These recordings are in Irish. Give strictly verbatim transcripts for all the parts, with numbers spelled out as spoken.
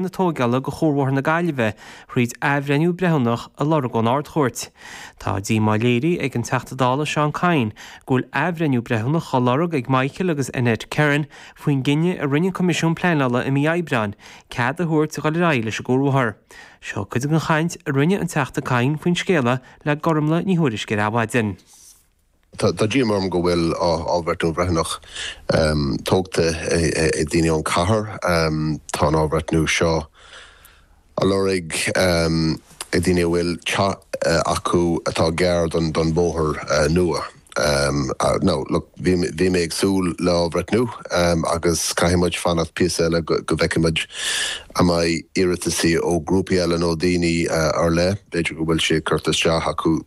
na tógála do Chuarbhóthar na Gaillimhe thríd athbhreithniú breithiúnach a lorg ón Ard-Chúirt. Tá díomá léirithe ag an Teachta Dála Seán Kyne go bhfuil athbhreithniú breithiúnach á lorg ag Michael agus Annette Kerin faoin gcinneadh a rinne an Coimisiún Pleanála i mí Aibreáin cead a thabhairt a dhul ar aghaidh leis an gcuarbhóthar. Seo cuid den chaint a rinne an Teachta Kyne faoin scéala le Gormlaith Ní Thuairisg ar Adhmhaidin. Tá díomá orm go bhfuil athbhreithniú breithiúnach tógtha ag daoine ón cathair. Tá an athbhreithniú seo á lorg ag daoine a bhfuil teach acu atá gar don don bóthar nua. No, look, bhí bhí mé ag súil le athbhreithniú agus caithfidh muid fanacht píosa eile go bhfeicfidh muid an mbeidh iarrataisí ó grúpaí eile nó daoine ar leith, b'fhéidir go bhfuil sé curtha isteach acu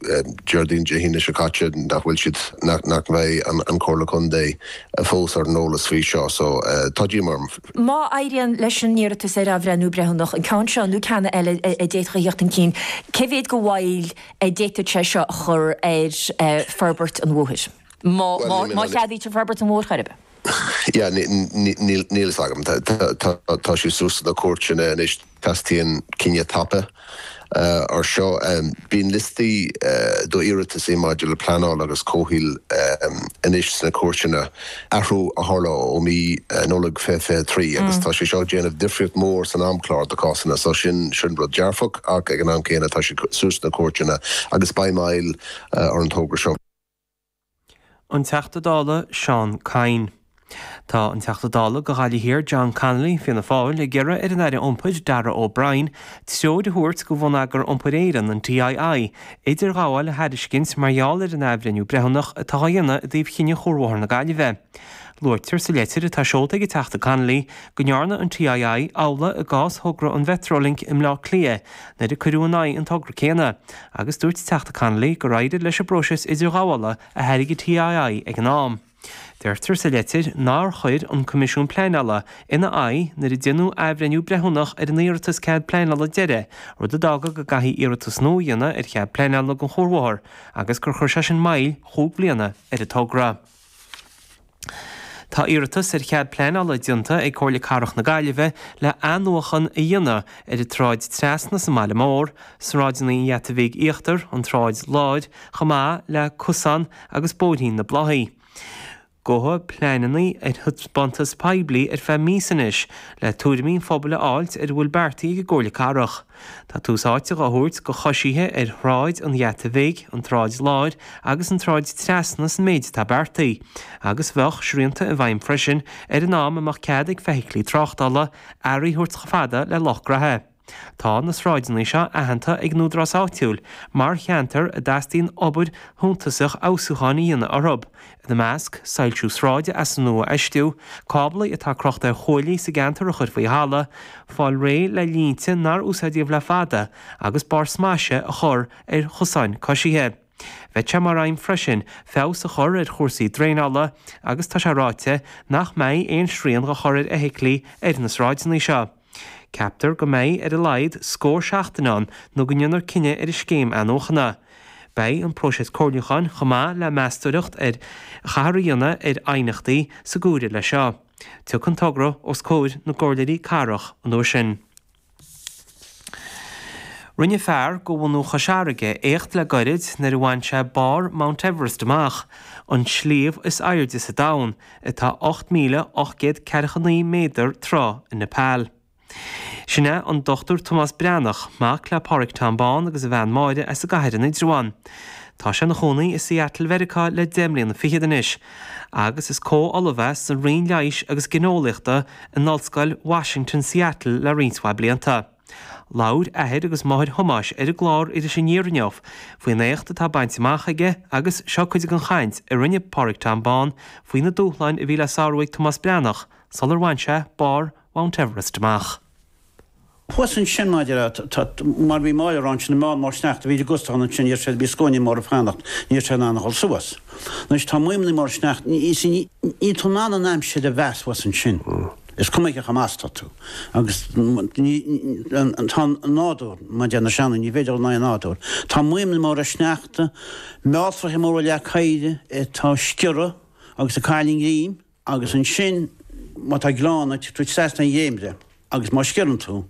Déardaoin Dé hAoine seo caite nach bhfuil siad nach mbeidh an Comhairle Contae fós ar an eolas faoi seo, so tá díomá orm. Má éiríonn leis an iarratas ar athbhreithniú breithiúnach an ceann seo nó ceann eile a d'fhéadfadh a theacht chun cinn, cé mhéad de mhoill a d'fhéadfadh sé seo a chur ar forbairt an bhóthair? Má má cheadaítear forbairt an bhóthair chor ar bith? Yeah, níl fhios agam. Tá sé suas na cúirteanna anois teastaíonn cinneadh tapa ar seo. Bíonn liostaí d'iarrataisí maidir le pleanáil agus comhshaoil anois sna cúirteanna athrú a tharla ó mí Nollag fiche fiche trí agus tá sé seo ag déanamh difríocht mór san amchlár do cásanna so sin sin rud dearfach ach ag an am céanna tá sé suas na cúirteanna agus beidh moill ar an togra seo. An Teachta Dála Seán Kyne. Tá an Teachta Dála do Ghaillimh Thiar John Connolly Fianna Fáil ag iarraidh ar an Aire Iompair Darragh O'Brien treoir a thabhairt do Bhonneagar Iompair Éireann an TII idirghabháil a thairiscint mar gheall ar an athbhreithniú breithiúnach atá á dhéanamh i dtaobh chinneadh Chuarbhóthar na Gaillimhe. Luaitear sa leitir atá seolta ag an Teachta Connolly go ndearna an TII amhlaidh i gcás thogra an Mhetrolink i mBleá Cliath nuair a cuireadh in aghaidh an togra céanna, agus dúirt Teachta Connolly gur éirigh leis an bpróiseas idirghabhála a thairg an TII ag an am. Deirtear sa leitir nár chuir an Coimisiún Pleanála ina aghaidh nuair a déanadh athbhreithniú breithiúnach ar an iarratas cead pleanála deiridh, rud a d'fhága go gcaithfí iarratas nua a dhéanamh ar chead pleanála don chuarbhóthar agus gur chuir sé sin moill chúig bliana ar an togra. Tá iarratas ar chead pleanála déanta ag Comhairle Cathrach na Gaillimhe le athnuachan a dhéanamh ar an tSráid Trasna sa mbaile mór, sráideanna an Gheata Bhig Íochtar, an tSráid Láir, chomh maith le cosán agus bóithrín na Bláthaí. Gabhadh pleananna ar thaispeántas poiblí ar feadh míosa anois le tuairimí an phobail a fháilt ar a bhfuil beartaithe ag an gComhairle Cathrach. Tá tús áite á thabhairt do choisithe ar Shráid an Gheata Bhig, an tSráid Láir agus an tSráid Trasna san méid atá beartaithe, agus bheadh srianta i bhfeidhm freisin ar an am a mbeadh cead ag feithiclí tráchtála earraí a thabhairt chomh fada le Loch Graithe. Tá na sráideanna seo aitheanta ag an údarás áitiúil mar cheantar a dteastaíonn obair shuntasach fheabhsúcháin a dhéanamh orthu, ina measc, soilsiú sráide as an nua a fheistiú, cáblaí atá crochta ar chuaillí sa gceantar a chur faoi thalamh, fáil réidh le línte nár úsáideadh le fada agus barr smaise a chur ar chosáin coisithe. Bheadh sé mar aidhm freisin feabhas a chur ar chúrsaí draenála agus tá sé ráite nach mbeidh aon srian á chur ar fheithiclí ar na sráideanna seo. Ceaptar go mbeidh ar a laghad scór seachtain ann nó go ndéanfar cinneadh ar an scéim athnuachana. Beidh an próiseas comhairliúcháin chomh maith le meastóireacht a chaithfear a dhéanamh ar aighneachtaí sa gcomhaireamh leis seo. Tiocfaidh an togra os comhair na gcomhairleoirí cathrach an uair sin. Rinne fear de bhunadh Chois Fharraige éacht le gairid nuair a bhain sé barr Mount Everest amach, an sliabh is airde sa domhan, atá ocht míle ocht gcéad ceathracha naoi méadar troigh i Nepal. Sin é an Dochtúir Tomás Breathnach, mac le Pádraig Tom Bán agus a bhean Máire as an gCathair in Indreabhán. Tá sé ina chónaí i Seattle Mheiriceá le deich mbliana fichead anois, agus is comh-ollamh é sa Roinn Leighis agus Gineolaíochta in Ollscoil Washington Seattle le roinnt mhaith blianta. Labhair athair agus máthair Thomáis ar an gclár Iris Aniar inniu faoin éacht atá bainte amach aige agus seo cuid den chaint a rinne Pádraig Tom Bán faoi na dúshláin a bhí le sárú ag Tomás Breathnach sular bhain sé barr Mount Everest amach. Thuas ansin maidir le, mar bhí Máire ann sin, an meán mór sneachta, bhí gustáin ansin, ní raibh sé, bhí scuaine mór ag fanacht, ní raibh sé in ann a dhul suas. Anois tá maidhmeanna móra sneachta, ní, ní, níl tú in ann an aimsir a mheas thuas ansin. Is cuma cé chomh maith is atá tú. Agus ní, tá an nádúr, mar a deir na seandaoine, ní féidir dul in aghaidh an nádúir. Tá maidhmeanna móra sneachta, mealltraithe móra leac oighir atá ag sciorradh agus ag cailleadh a ngreim. Agus ansin, má tá gleann, tú trasna an dréimire agus má sciorrann tú,